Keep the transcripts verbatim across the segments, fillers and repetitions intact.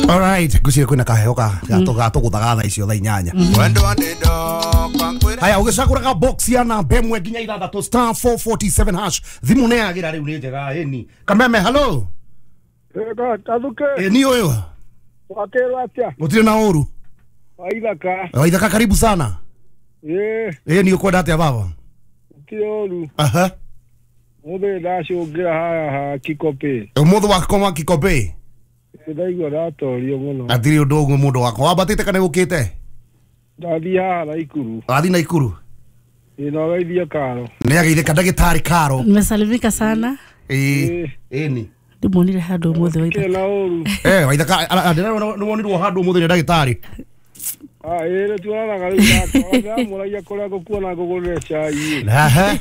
All right, gucire kwina kaheo ka gato guthaga thaa icio thaa inyanya. Haya ugicaguraga box ya namba ĩmwe nginya ithathatũ star four forty-seven hash. Thimu nĩ yagira rĩu nĩ njega ĩni. Kameme hello. Kathuke. Ĩni ũyũ. Wakerwo atĩa? Gũtirĩ na ũru. Waithaka. Waithaka karibu sana. Ĩĩ. Ĩni ũkwenda atĩa baba? Gũtirĩ ũru. Aha. Mũthĩ ndacũngĩra haha ha Kikopĩ. Ũmũthĩ wakoma Kikopĩ? Ndaigua ndatorio mũno. Atirĩ ũndũ ũguo mũndũ wakwa. Wambatĩte kana ũkĩte? Ndathiĩ haha Naikuru. Wathiĩ Naikuru? Ĩĩ no geithie Karo. Nĩ ageithĩka ndagĩtarĩ Karo. Nimesalimika sana. Ĩĩ. Ĩni. Ndimuonire handũ ũmũthĩ Waithaka. Na ũru. Eh Waithaka ndĩrona nĩwonirwo handũ ũmũthĩ nĩ ndagĩtarĩ. Ah ĩĩ tuonanaga rĩu ndamũragia kũrĩa ngũkuona ngũgũrĩre cai. Aha.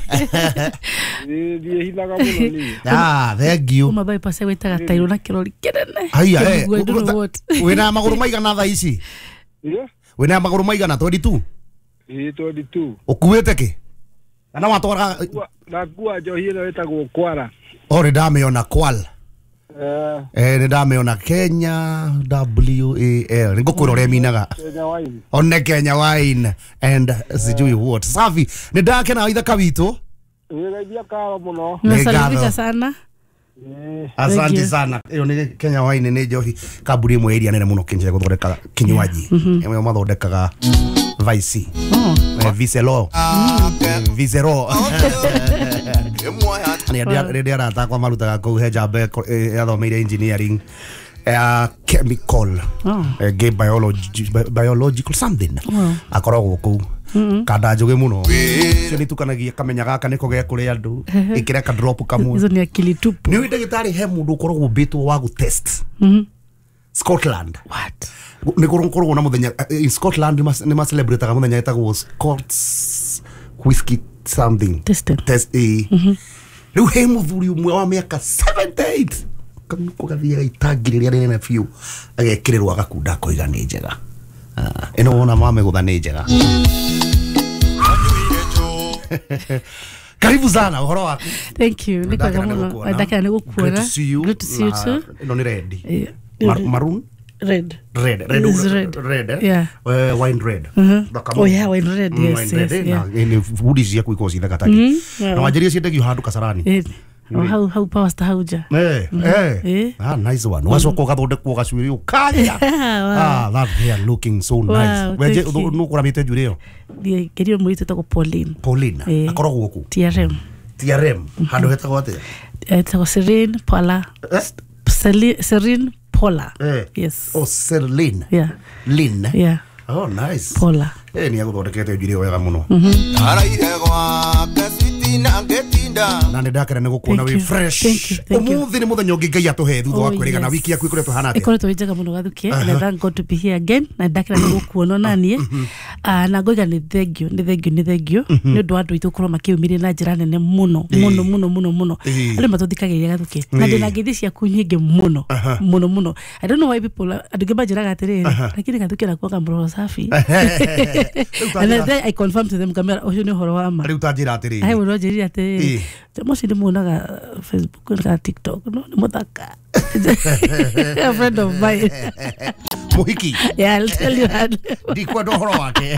Ĩĩ ndiĩhithaga mũno niĩ. Ah thank you. Kuma bypass gwĩtaga tairũ na kĩrori kĩnene. Haiya eh. Wĩna magũrũ maigana thaa ici? Ĩĩ. Wĩna magũrũ maigana twenty-two? Ĩĩ twenty-two. Ũkuĩte kĩ? Kana watwara ndakua njohi ĩno ĩtagwo Kwara. Oh nĩ ndamĩona Kwal. Eh eh nĩ ndamĩona Kenya W A L. Nĩngũkwĩra ũrĩa ĩminaga. Kenya wine. One Kenya wine and sijui what. Safi. Nĩ ndakena Waithaka witũ. Ĩĩ geithia Karo mũno. Nimesalimika sana. Asante sana. Ĩyo nĩ Kenya wine nĩ njohi kambuni ĩmwe ĩrĩa nene mũno Kenya gũthondeka kinywaji. Ĩmwe mathondekaga Vice. Oh. Vicelo. Vicero. Nĩ ndĩ arata akwa marutaga kũu he njamba yathomeire engineering uh, chemical uh, gay biology biological something. Akoragwo kũu kanda njuge muno cio nĩ tukanagia kamenya gaka nĩko ge kũrĩa andũ ĩkĩra ka drop kamwe. Izo ni akili tupu. Nĩ ndagĩtarĩ he mũndũ ũkoragwo ũmbĩtwo wa gũ test Scotland. What? Nĩ kũrogwo na mũthenya in Scotland nĩ ma celebrate mũthenya ĩtagwo Scots whiskey something testing. Test eh rĩu he mũthuri ũmwe wa mĩaka seventy-eight kanuko gathiaga itangi rĩrĩa rĩnene biũ agekĩrĩrwo agakunda akoiga nĩ njega. Ĩno wona mamegũtha nĩ njega. Karibu sana ũhoro waku. Thank you. Nĩ kwega mũno. Ndakena nĩ gũkuona. Great to see you. Good to see you too. Ĩno nĩ red. Maroon? Red. Red. Red. Red. Red. Eh? Yeah. Uh, wine red. Mm-hmm. Oh yeah, wine red. Yes, wine red. Yes, yeah. Na budi ciaku ikoragwo ci thaka taki. Na wanjĩrie ciendagio handũ Kasarani. Eh. How how power star hauja. Eh, eh. Ah, nice one. Wacoka ũgathondekwo gacuĩrĩ ũkaria. Ah, that hair looking so nice. Wenje nũ kũramĩte njuĩrĩ ĩyo? Ngerio mũirĩtu etagwo Pauline. Pauline. Akoragwo kũ? T R M. T R M. Handũ hetagwo atĩa? Etagwo Serene Paula. Serene Paula. Eh. Yes. Oh, Serene. Yeah. Lynn. Yeah. Oh, nice. Paula. Eh, ni aguthondekete njuĩrĩ wega mũno. Na nĩ ndakena nĩ gũkuona wĩ fresh. Ũmũthĩ nĩ mũthenya ũngĩ Ngai atũhe thutha wa kwĩrĩgana wiki yaku ĩkoretwo ĩhana atĩa? Ĩkoretwo ĩ njega mũno Gathuke. And I thank God to be here again. Na ndakena nĩ gũkuona na niĩ. Na ngoiga nĩ thank you, nĩ thank you, nĩ thank you. Nĩ ũndũ wa andũ aitũ gũkorwo makĩyumĩria na njĩra nene mũno, mũno, mũno, mũno, mũno. Andũ matũthikagĩrĩria Gathuke. Na ndĩna ngeithi ciaku nyingĩ mũno, mũno, mũno. I don't know why people andũ aingĩ manjĩraga atĩrĩrĩ, lakini Gathuke anakuwaga mroho safi. And then I confirm to them kamera ũcio nĩ ũhoro wa ma. Rĩu ta njĩra atĩrĩrĩ. He mũndũ anjĩrire atĩrĩrĩ, mũcio ndĩmuonaga Facebook na TikTok, no nĩ mũthaka. A friend of mine. Mũhiki. Yeah, I'll tell you that. Ndikwenda ũhoro wake.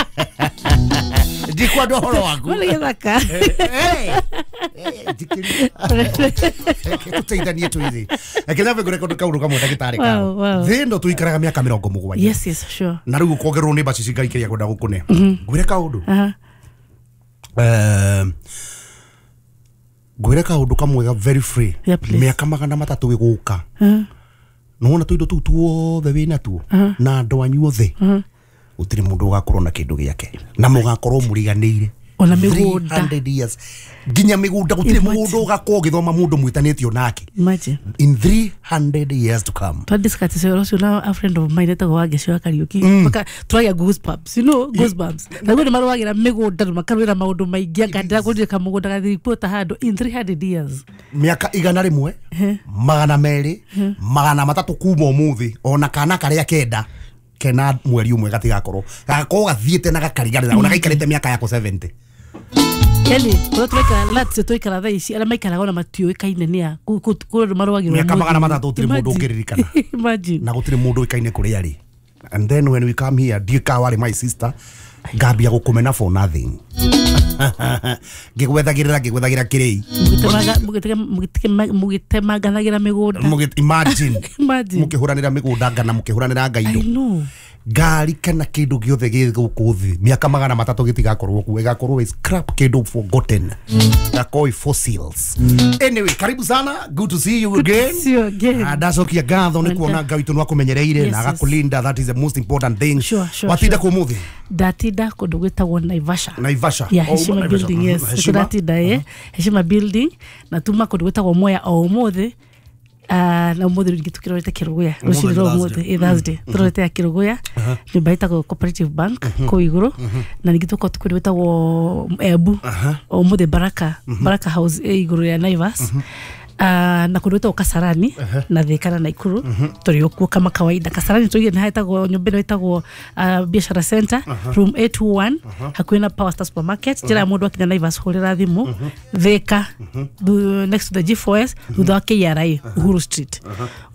Ndikwenda ũhoro waku. Nĩ gĩthaka. Tũteithanie twĩthĩ. Reke nyambe ngũre kaũndũ kamwe ndagĩtarĩ Karo. Thĩ ĩno tũikaraga mĩaka mĩrongo mũgwanja. Yes, yes, sure. Na rĩu ũkongererwo nĩ mbacici Ngai kĩrĩa kwenda gũkũne. Ngwĩre kaũndũ. Eh ngwĩre kaũndũ kamwe very free. Mĩaka magana matatũ ĩgũka. Nĩwona tũindo tũu tuothe wĩna tuo na andũ anyu othe gũtirĩ mũndũ ũgakorwo na kĩndũ gĩake na mũgakorwo mũriganĩire ona mĩgũnda three hundred years nginya mĩgũnda gũtirĩ mũgũnda ũgakorwo ũgĩthoma mũndũ mwĩtanĩtio nake. Imagine in three hundred years to come. Twa discuss ũhoro ũcio na a friend of mine etagwo Wangeci wa Kariũki. Maka tũragĩa goosebumps, you know, goosebumps. Naguo nĩ marũagĩra mĩgũnda na makarũĩra maũndũ maingĩ anga ndĩragũrire kamũgũnda gathiripota handũ in three hundred years. Mĩaka igana rĩmwe magana merĩ magana matatũ kuma ũmũthĩ ona kana karĩa kenda kena mweri ũmwe gatigakorwo gagakorwo gathiĩte na gakariganĩra ona gaikarĩte mĩaka yako seventy. Yani kũrĩa tũraikara latse tũikara thaa ici arĩa maikaraga ona matiũĩkaine nĩ a kũ- kũ- kũrĩ andũ marũagĩrwo Mĩaka magana mũthĩ. matatũ gũtirĩ mũndũ Imagine. ũngĩririkana. Imagine. Na gũtirĩ mũndũ ũĩkaine kũrĩa arĩ. And then when we come here, ndiũĩ ka warĩ my sister, ngambia gũkũmena for nothing, ngĩgwethagĩrĩra ngĩgwethagĩra kĩrĩi. Mũgĩtemaga- mũgĩtega- mũgĩtema- mũgĩtemanganagĩra mĩgũnda. Mũgĩ- imagine. Imagine. Mũkĩhũranĩra mĩgũnda ngana, mũkĩhũranĩra I ngaindo. know. Ngari kana kĩndũ gĩothe gĩ gũkũ thĩ mĩaka magana matatũ gĩtigakorwo kuo, ĩgakorwo ĩ scrap, kĩndũ forgotten, gakorwo ĩ fossils. Anyway, karibu sana, good to see you again. See you again. Ah, ndacokia ngatho nĩ kuona Ngai witũ nĩ akũmenyereire Yes, na yes. agakũlinda. That is the most important thing. Sure, sure, Watinda sure. kũ mũthĩ? Ndatinda kũndũ gwĩtagwo Naivasha. Naivasha. Yeah, Oh, Heshima Naivasha. building. Mhm. Yes. Heshima. Ndatinda eh Heshima building na tuma kũndũ gwĩtagwo Mwea o ũmũthĩ. Ah, na ũmũthĩ rĩngĩ tũkĩrorete Kĩrũgũya rũcinĩ rwa Thursday. ũmũthĩ, ĩ Thursday tũrorete ya Kĩrũgũya, nyũmba ĩtagwo Cooperative Bank kũu igũrũ, na ningĩ tũkorwo kũndũ gwĩtagwo Embu o ũmũthĩ, Baraka Baraka House ĩ igũrũ rĩa Naivas. Ah, na kũndũ gwĩtagwo Kasarani na Thika na Naikuru tũrĩ o kuo kama kawaida. Kasarani tũige nĩ hetagwo nyũmba ĩno ĩtagwo ah, Biashara Center, room eight two one, hakuhĩ na Power Star Supermarket, njĩra ya mũndũ akinya Naivas, hũrĩra thimũ. Thika thu- next to the G four S, thutha wa K R A, Uhuru Street,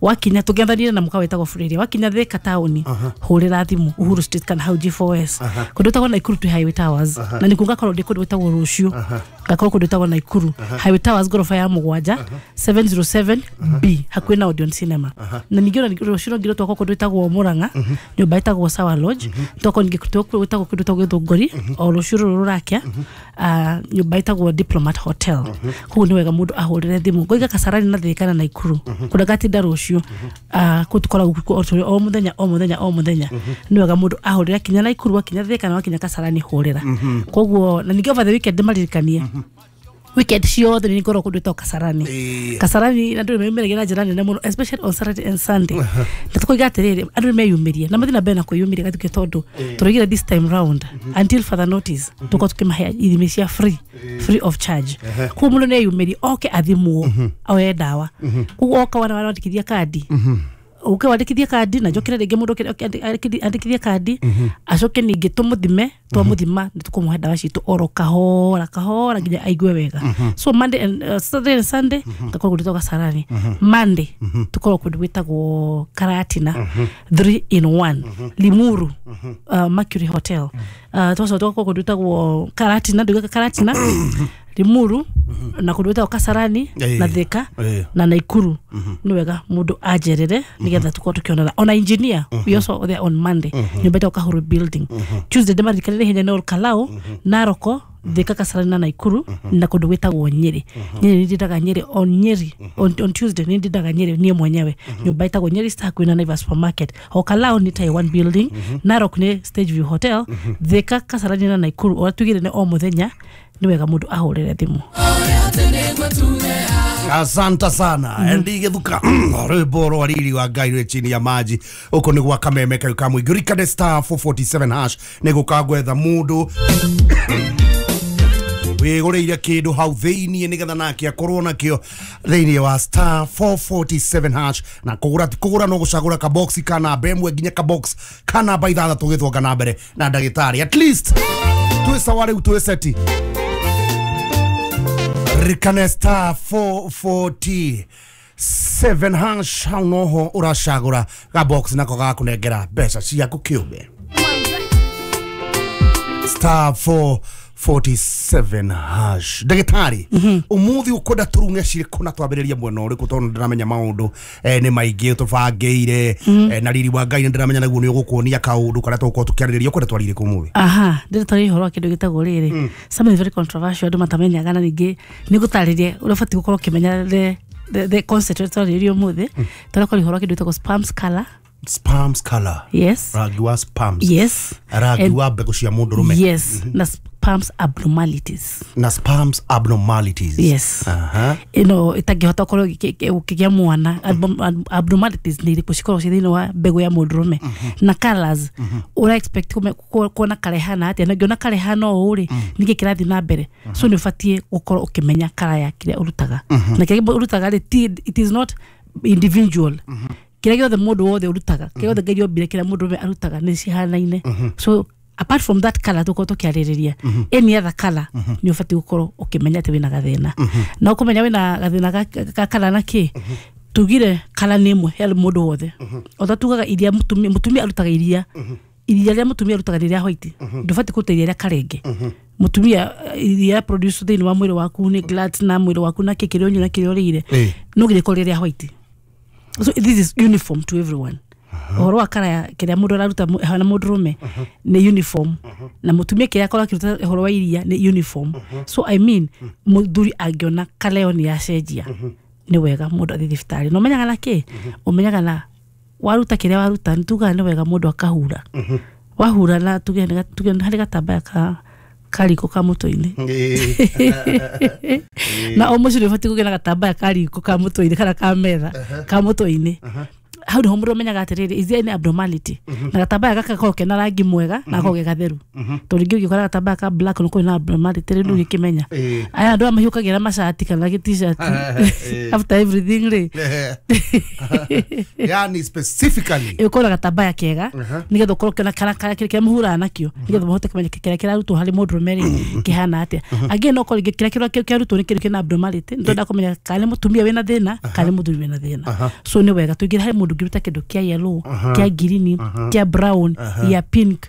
wakinya tũngĩathanire na mũkawa wĩtagwo Freria. Wakinya Thika taũni, hũrĩra thimũ Uhuru Street kana hau G four S. Kũndũ gwĩtagwo Naikuru twĩ Highway Towers, na nĩkuo ngakorwo ndĩ kũndũ gwĩtagwo rũciũ, ngakorwo kũndũ gwĩtagwo Naikuru Highway Towers, ngoroba ya mũgwanja, seven zero seven B, hakuhĩ na Odeon Cinema. Na ningĩ ona rũciũ no ngirwo twakorwo kũndũ gwĩtagwo Murang'a, nyũmba ĩtagwo Sawa Lodge. Twakorwo ningĩ gwĩtagwo kũndũ gwĩtagwo Gĩthũngũri o rũciũ rũrũ rũrakia, ah, nyũmba ĩtagwo Diplomat Hotel. Koguo nĩ wega mũndũ ahũrĩre thimũ. Ngoiga Kasarani na Thika na Naikuru kũrĩa ngatinda rũciũ. Ah, kũu tũkoragwo kuo o tũrĩ o mũthenya, o mũthenya, o mũthenya. Nĩ wega mũndũ ahũrĩre akinya Naikuru, akinya Thika na wakinya Kasarani, hũrĩra. Koguo na ningĩ over the weekend ndĩmaririkanie, weekend ciothe nĩ ngorwo kũndũ gwĩtagwo Kasarani. Ĩĩ. Kasarani andũ nĩ meyumĩragia na njĩra nene mũno, especially on Saturday and Sunday. Na tũkoiga atĩrĩrĩ, andũ nĩ meyumĩrie na mathiĩ na mbere na kwĩyumĩria gatuke, tondũ tũroigire this time round, until further notice, tũkorwo tũkĩmahe ithimi cia free free of charge. Koguo mũndũ nĩ eyumĩrie oke athimwo, oe ndawa. Koguo oka wana wandĩkithia kandi, uke wandĩkithie kandi, na njokere rĩngĩ mũndũ oke- oke andĩkithie andĩkithie kandi, acoke ningĩ tũmũthime. Twamũthima nĩ tũkũmũhe ndawa citũ oro kahora kahora nginya aigue wega. So Monday and uh, Saturday and Sunday ngakorwo kũndũ gwĩtagwo Kasarani. Monday tũkorwo kũndũ gwĩtagwo Karatina three in one, Limuru, uh, Mercury Hotel. uh, twacoka tũgakorwo kũndũ gwĩtagwo Karatina, ndugaga Karatina, Limuru, na kũndũ gwĩtagwo Kasarani Ĩĩ. na Thika Ĩĩ. na Naikuru. Nĩ wega mũndũ anjerere nĩgetha tũkorwo tũkĩonana. Ona engineer, we also there on Monday, nyũmba ĩtagwo Kahuru building. Tuesday ndĩmaririkanire ihenya nĩ Olkalou, Naroko, Thika, Kasarani na Naikuru, na kũndũ gwĩtagwo Nyĩrĩ. Nyĩrĩ nĩ ndindaga Nyĩrĩ on Nyeri on, on Tuesday nĩ ndindaga Nyĩrĩ niĩ mwenyewe, nyũmba ĩtagwo Nyeri Star, hakuhĩ na Naivas Supermarket. Olkalou nĩ Taiwan building, Narok nĩ Stage View Hotel. Thika, Kasarani na Naikuru ũrĩa tugire nĩ o mũthenya. Nĩ wega mũndũ ahũrĩre thimũ. Asante sana mm -hmm. Ndigithuka rwimbo rwa riri wa Ngai rwi chini ya maji uko ni gwa kameme kayu ka mũingĩ. Ririkane star four four seven hash nĩ gũka gwetha mũndũ wĩgũrĩire kĩndũ hau thĩiniĩ nĩgetha nake akorwo nakĩo thĩiniĩ wa star four four seven hash. Na kũgũra ti kũgũra, no gũcagũra kabox ka namba ĩmwe nginya kabox ka namba ithathatũ. Gĩthonga na mbere na ndagĩtarĩ, at least twĩ sawa rĩu, twĩ seti. Ririkane star four four seven hash, hau noho ũracagũra gabox nako gakũnengera mbeca ciaku kĩũmbe. Star four forty-seven hash. Ndagĩtarĩ, ũmũthĩ ũkwenda tũrung'e cirĩkũ na twambĩrĩrie mwena ũrĩkũ? Tondũ ndĩramenya maũndũ eh, nĩ maingĩ tũbangĩire, eh, na riri wa Ngai nĩ ndĩramenya naguo nĩ ũgũkuonia kaũndũ karĩa tũgũkorwo tũkĩarĩrĩria. Ũkwenda twarĩrie kũ ũmũthĩ? Aha, ndĩratwarĩria ũhoro wa kĩndũ gĩtagwo rĩrĩ, something very controversial andũ matamenyaga, na ningĩ nĩ ngũtarĩria ũrĩa ũbatiĩ gũkorwo ũkĩmenya the the, the concept ũrĩa twarĩrĩria ũmũthĩ. Tũrakwaria ũhoro wa kĩndũ gĩtagwo sperms color. Sperms color? Yes. Rangi wa sperms? Yes. Rangi And- wa mbegũ cia mũndũrũme? Yes, na sperms abnormalities. Na sperms abnormalities. Yes. Aha. Ĩno ĩtangĩhota gũkorwo ĩgĩ- ĩgĩ- ũkĩgĩa mwana. Abnorm- abnormalities nĩ irĩkũ cikoragwo ciĩ thĩinĩ wa mbegũ ya mũndũrũme na colors ũra expect kũme- ku- kuona karehana atĩa, na ũngĩona karehana ũũ rĩ, nĩkĩ kĩrathiĩ na mbere? So nĩ ũbatiĩ gũkorwo ũkĩmenya kara ya kĩrĩa ũrutaga, na kĩrĩa ũrutaga rĩ, ti- it is not individual. Kĩrĩa gĩothe mũndũ wothe ũrutaga, kĩrĩa gĩothe Ngai ombire, kĩrĩa mũndũrũme arutaga nĩ cihanaine. So Apart from that color tukorwo tukiarĩrĩria, any other color nĩ ũbatiĩ gũkorwo ũkĩmenya atĩ wĩna gathĩna. Na ũkũmenya wĩna gathĩna ga- ga color na kĩ? Tugire color nĩ ĩmwe he mũndũ wothe. Ota tugaga iria, mũtumia mũtumia arutaga iria, iria rĩa mũtumia arutaga nĩ rĩa white. Ndũbatiĩ kũruta iria rĩa karenge. Mũtumia eh, iria produce thĩinĩ wa mwĩrĩ waku nĩ glands na mwĩrĩ waku na kĩ kĩrĩa ũnyua na kĩrĩa ũrĩire, Ĩĩ. no nginya ĩkorwo rĩ rĩa white. So this is uniform to everyone. Ũhoro wa kara ya kĩrĩa mũndũ araruta mu- hana mũndũrũme nĩ uniform, na mũtumia kĩrĩa akorwo akĩruta ũhoro wa iria nĩ uniform. So I mean, mũthuri angĩona kara ĩyo nĩ yacenjia, nĩ wega mũndũ athiĩ thibitarĩ. Na ũmenyaga na kĩ? Ũmenyaga na waruta kĩrĩa waruta, nĩ tugaga nĩ wega mũndũ akahura. Wahura na tuge nĩ ga- tuge nĩ harĩ gatambaya ka kariko ka mũtwe-inĩ, na o mũciĩ nĩ ũbatiĩ kũgĩa na gatambaya ka riko ka mũtwe-inĩ kana ka metha ka mũtwe-inĩ. Hau nĩho mũndũ amenyaga atĩrĩrĩ, is there any abnormality? Na gatambaya gaka gakorwo kena rangi mwega na gakorwo ge gatheru, tondũ rĩngĩ ũngĩkora gatambaya ka black no kwĩna abnormality rĩ, ndũgĩkĩmenya. Ĩĩ. Aya andũ aya mahiũkagĩra macati kana gĩ t-shirt Ĩĩ. after everything rĩ. Yani specifically Ĩkorwo na gatambaya kega nĩgetha ũkorwo ũkĩona kana kana kĩrĩa mũhuraga nakĩo, nĩgetha mũhote kũmenya kĩrĩa kĩrarutwo harĩ mũndũrũme rĩ kĩhana atĩa. Angĩ no korwo rĩngĩ kĩrĩa kĩrĩa kĩarutwo nĩ kĩndũ kĩna abnormality, nĩ twenda kũmenya kana nĩ mũtumia wĩna thĩna kana nĩ mũthuri wĩna thĩna. So nĩ wega tũingĩre harĩ mũndũ ũngĩruta kĩndũ kĩa yellow, kĩa green, kĩa brown, ya pink,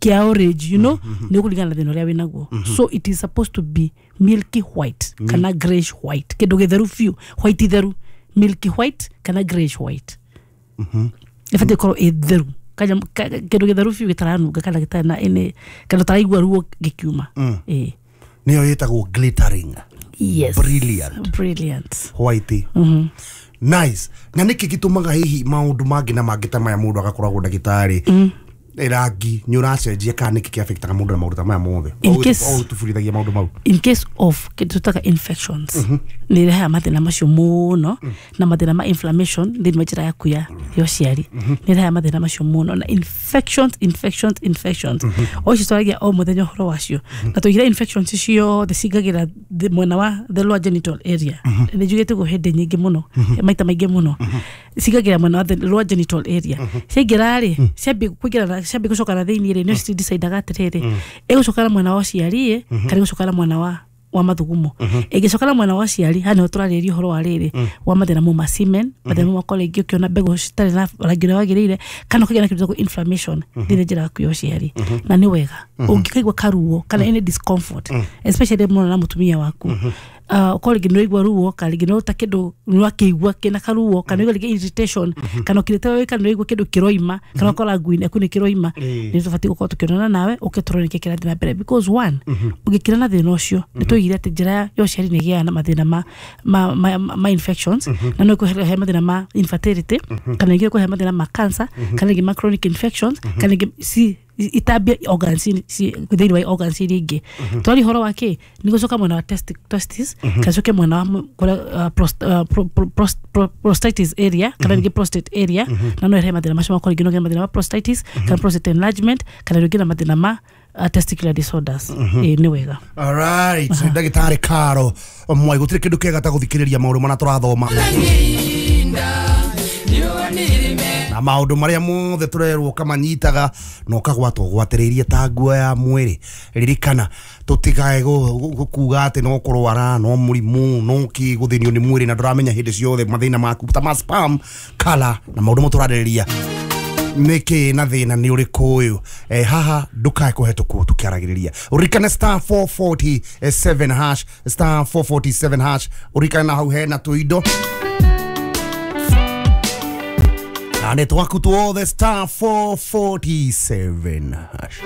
kĩa orange, you know nĩ ũkũringana na thĩna ũrĩa wĩnaguo. So it is supposed to be milky white kana grayish white, kĩndũ gĩtheru biũ, white theru, milky white kana grayish white. Ĩbatiĩ gũkorwo ĩ theru. Kanya- ka- kĩndũ gĩtheru biũ gĩtaranunga kana gĩtarĩ na any, kana ũtaraigua ruo gĩkiuma. Ĩĩ. Nĩyo ĩtagwo glittering. Yes. Brilliant. Brilliant. White, nice. Na nĩkĩ gĩtũmaga hihi maũndũ mangĩ na mangĩ ta maya mũndũ agakoragwo ndagĩtarĩ rangi nĩ ũracenjia, kana nĩkĩ kĩafectaga mũndũ na maũndũ ta maya mothe? In case- Tũburithagia maũndũ mau. In case of kĩndũ tũtaga infections, nĩ irehaga mathĩna macio mũno, na mathĩna ma inflammation thĩinĩ wa njĩra yaku ya ya ũciari nĩ irehaga mathĩna macio mũno. Na infections, infections, infections o icio twaragia o mũthenya ũhoro wacio, na tũigire infections ciothe cingagĩra thĩ- mwena wa the lower genital area. Nĩ njugĩte guo hĩndĩ nyingĩ mũno, maita maingĩ mũno. Cingagĩra mwena wa the lower genital area. Ciaingĩra rĩ, ciambia kũingĩra na- ciambia gũcoka na thĩinĩ rĩ, nĩo cidecidaga atĩrĩrĩ, ĩgũcoka na mwena wa ũciari ĩ kana ĩgũcoka na mwena wa wa mathugumo. Ĩngĩcoka na mwena wa ũciari, haha nĩho tũrarĩrĩria ũhoro wa rĩrĩ wa mathĩna mau ma semen, mathĩna mau makorwo rĩngĩ ũkĩona mbegũ citarĩ na rangi ũrĩa wagĩrĩire, kana ũkagĩa na kĩndũ gĩtagwo inflammation thĩinĩ njĩra yaku ya ũciari. Na nĩ wega ũngĩkaigua karuo kana any discomfort, especially mũno na mũtumia waku, uh, ũkorwo rĩngĩ nĩũraigua ruo, kana rĩngĩ nĩũruta kĩndũ nĩwakĩigua kĩna karuo, kana ũraigua rĩngĩ irritation, kana ũkirĩte wĩ kana nĩũraigua kĩndũ kĩroima, kana ũkora nguo-inĩ yaku nĩ kĩroima, Ĩĩ. nĩ tũbatiĩ gũkorwo tũkĩonana nawe ũke tũrore nĩkĩ kĩrathiĩ na mbere. Because one, ũngĩkira na thĩna ũcio, nĩ tũigire atĩ njĩra ya ũciari nĩ ĩgĩaga na mathĩna ma, ma, ma, ma, ma infections, na no ĩkũhe mathĩna ma infertility, kana ĩngĩ ĩkũhe mathĩna ma cancer, kana ĩngĩ ma chronic infections, kana ĩngĩ ci itambia organs ci thĩinĩ wa organs iria ingĩ. Twari ũhoro wa kĩ nĩ gũcoka mwena wa testi- testis, kana coke mwena wa mu- kũrĩa uh, prost- uh, pro- pro- prost- pro- prostatitis area, kana rĩngĩ prostate area, na no ĩrehe mathĩna macio makorwo rĩngĩ no ũgĩe mathĩna ma prostatitis kana prostate enlargement, kana rĩngĩ na mathĩna ma uh, testicular disorders. Ĩĩ, nĩ wega. Alright, ndagĩtarĩ Karo Mwai, gũtirĩ kĩndũ kĩega ta gũthikĩrĩria maũndũ marĩa tũrathoma na maũndũ marĩa mothe tũrerwo, ũkamanyitaga na ũkagwatwo gwatĩrĩirie ta nguo ya mwĩrĩ. Ririkana tũtikae kuga atĩ no kũrwara, no mũrimũ, no kĩ gũthĩnio nĩ mwĩrĩ, na ndũramenya hĩndĩ ciothe mathĩna maku ta ma sperm color na maũndũ mo tũrarĩrĩria nĩkĩ na thĩna nĩ ũrĩkũ ũyũ. eh, haha ndũkae kũhetũkwo tũkĩaragĩrĩria. Ũririkane star four forty-seven hash, star four forty-seven hash. Ũririkane na hau hena tũindo na nĩ twaku tuothe, star four forty-seven hash.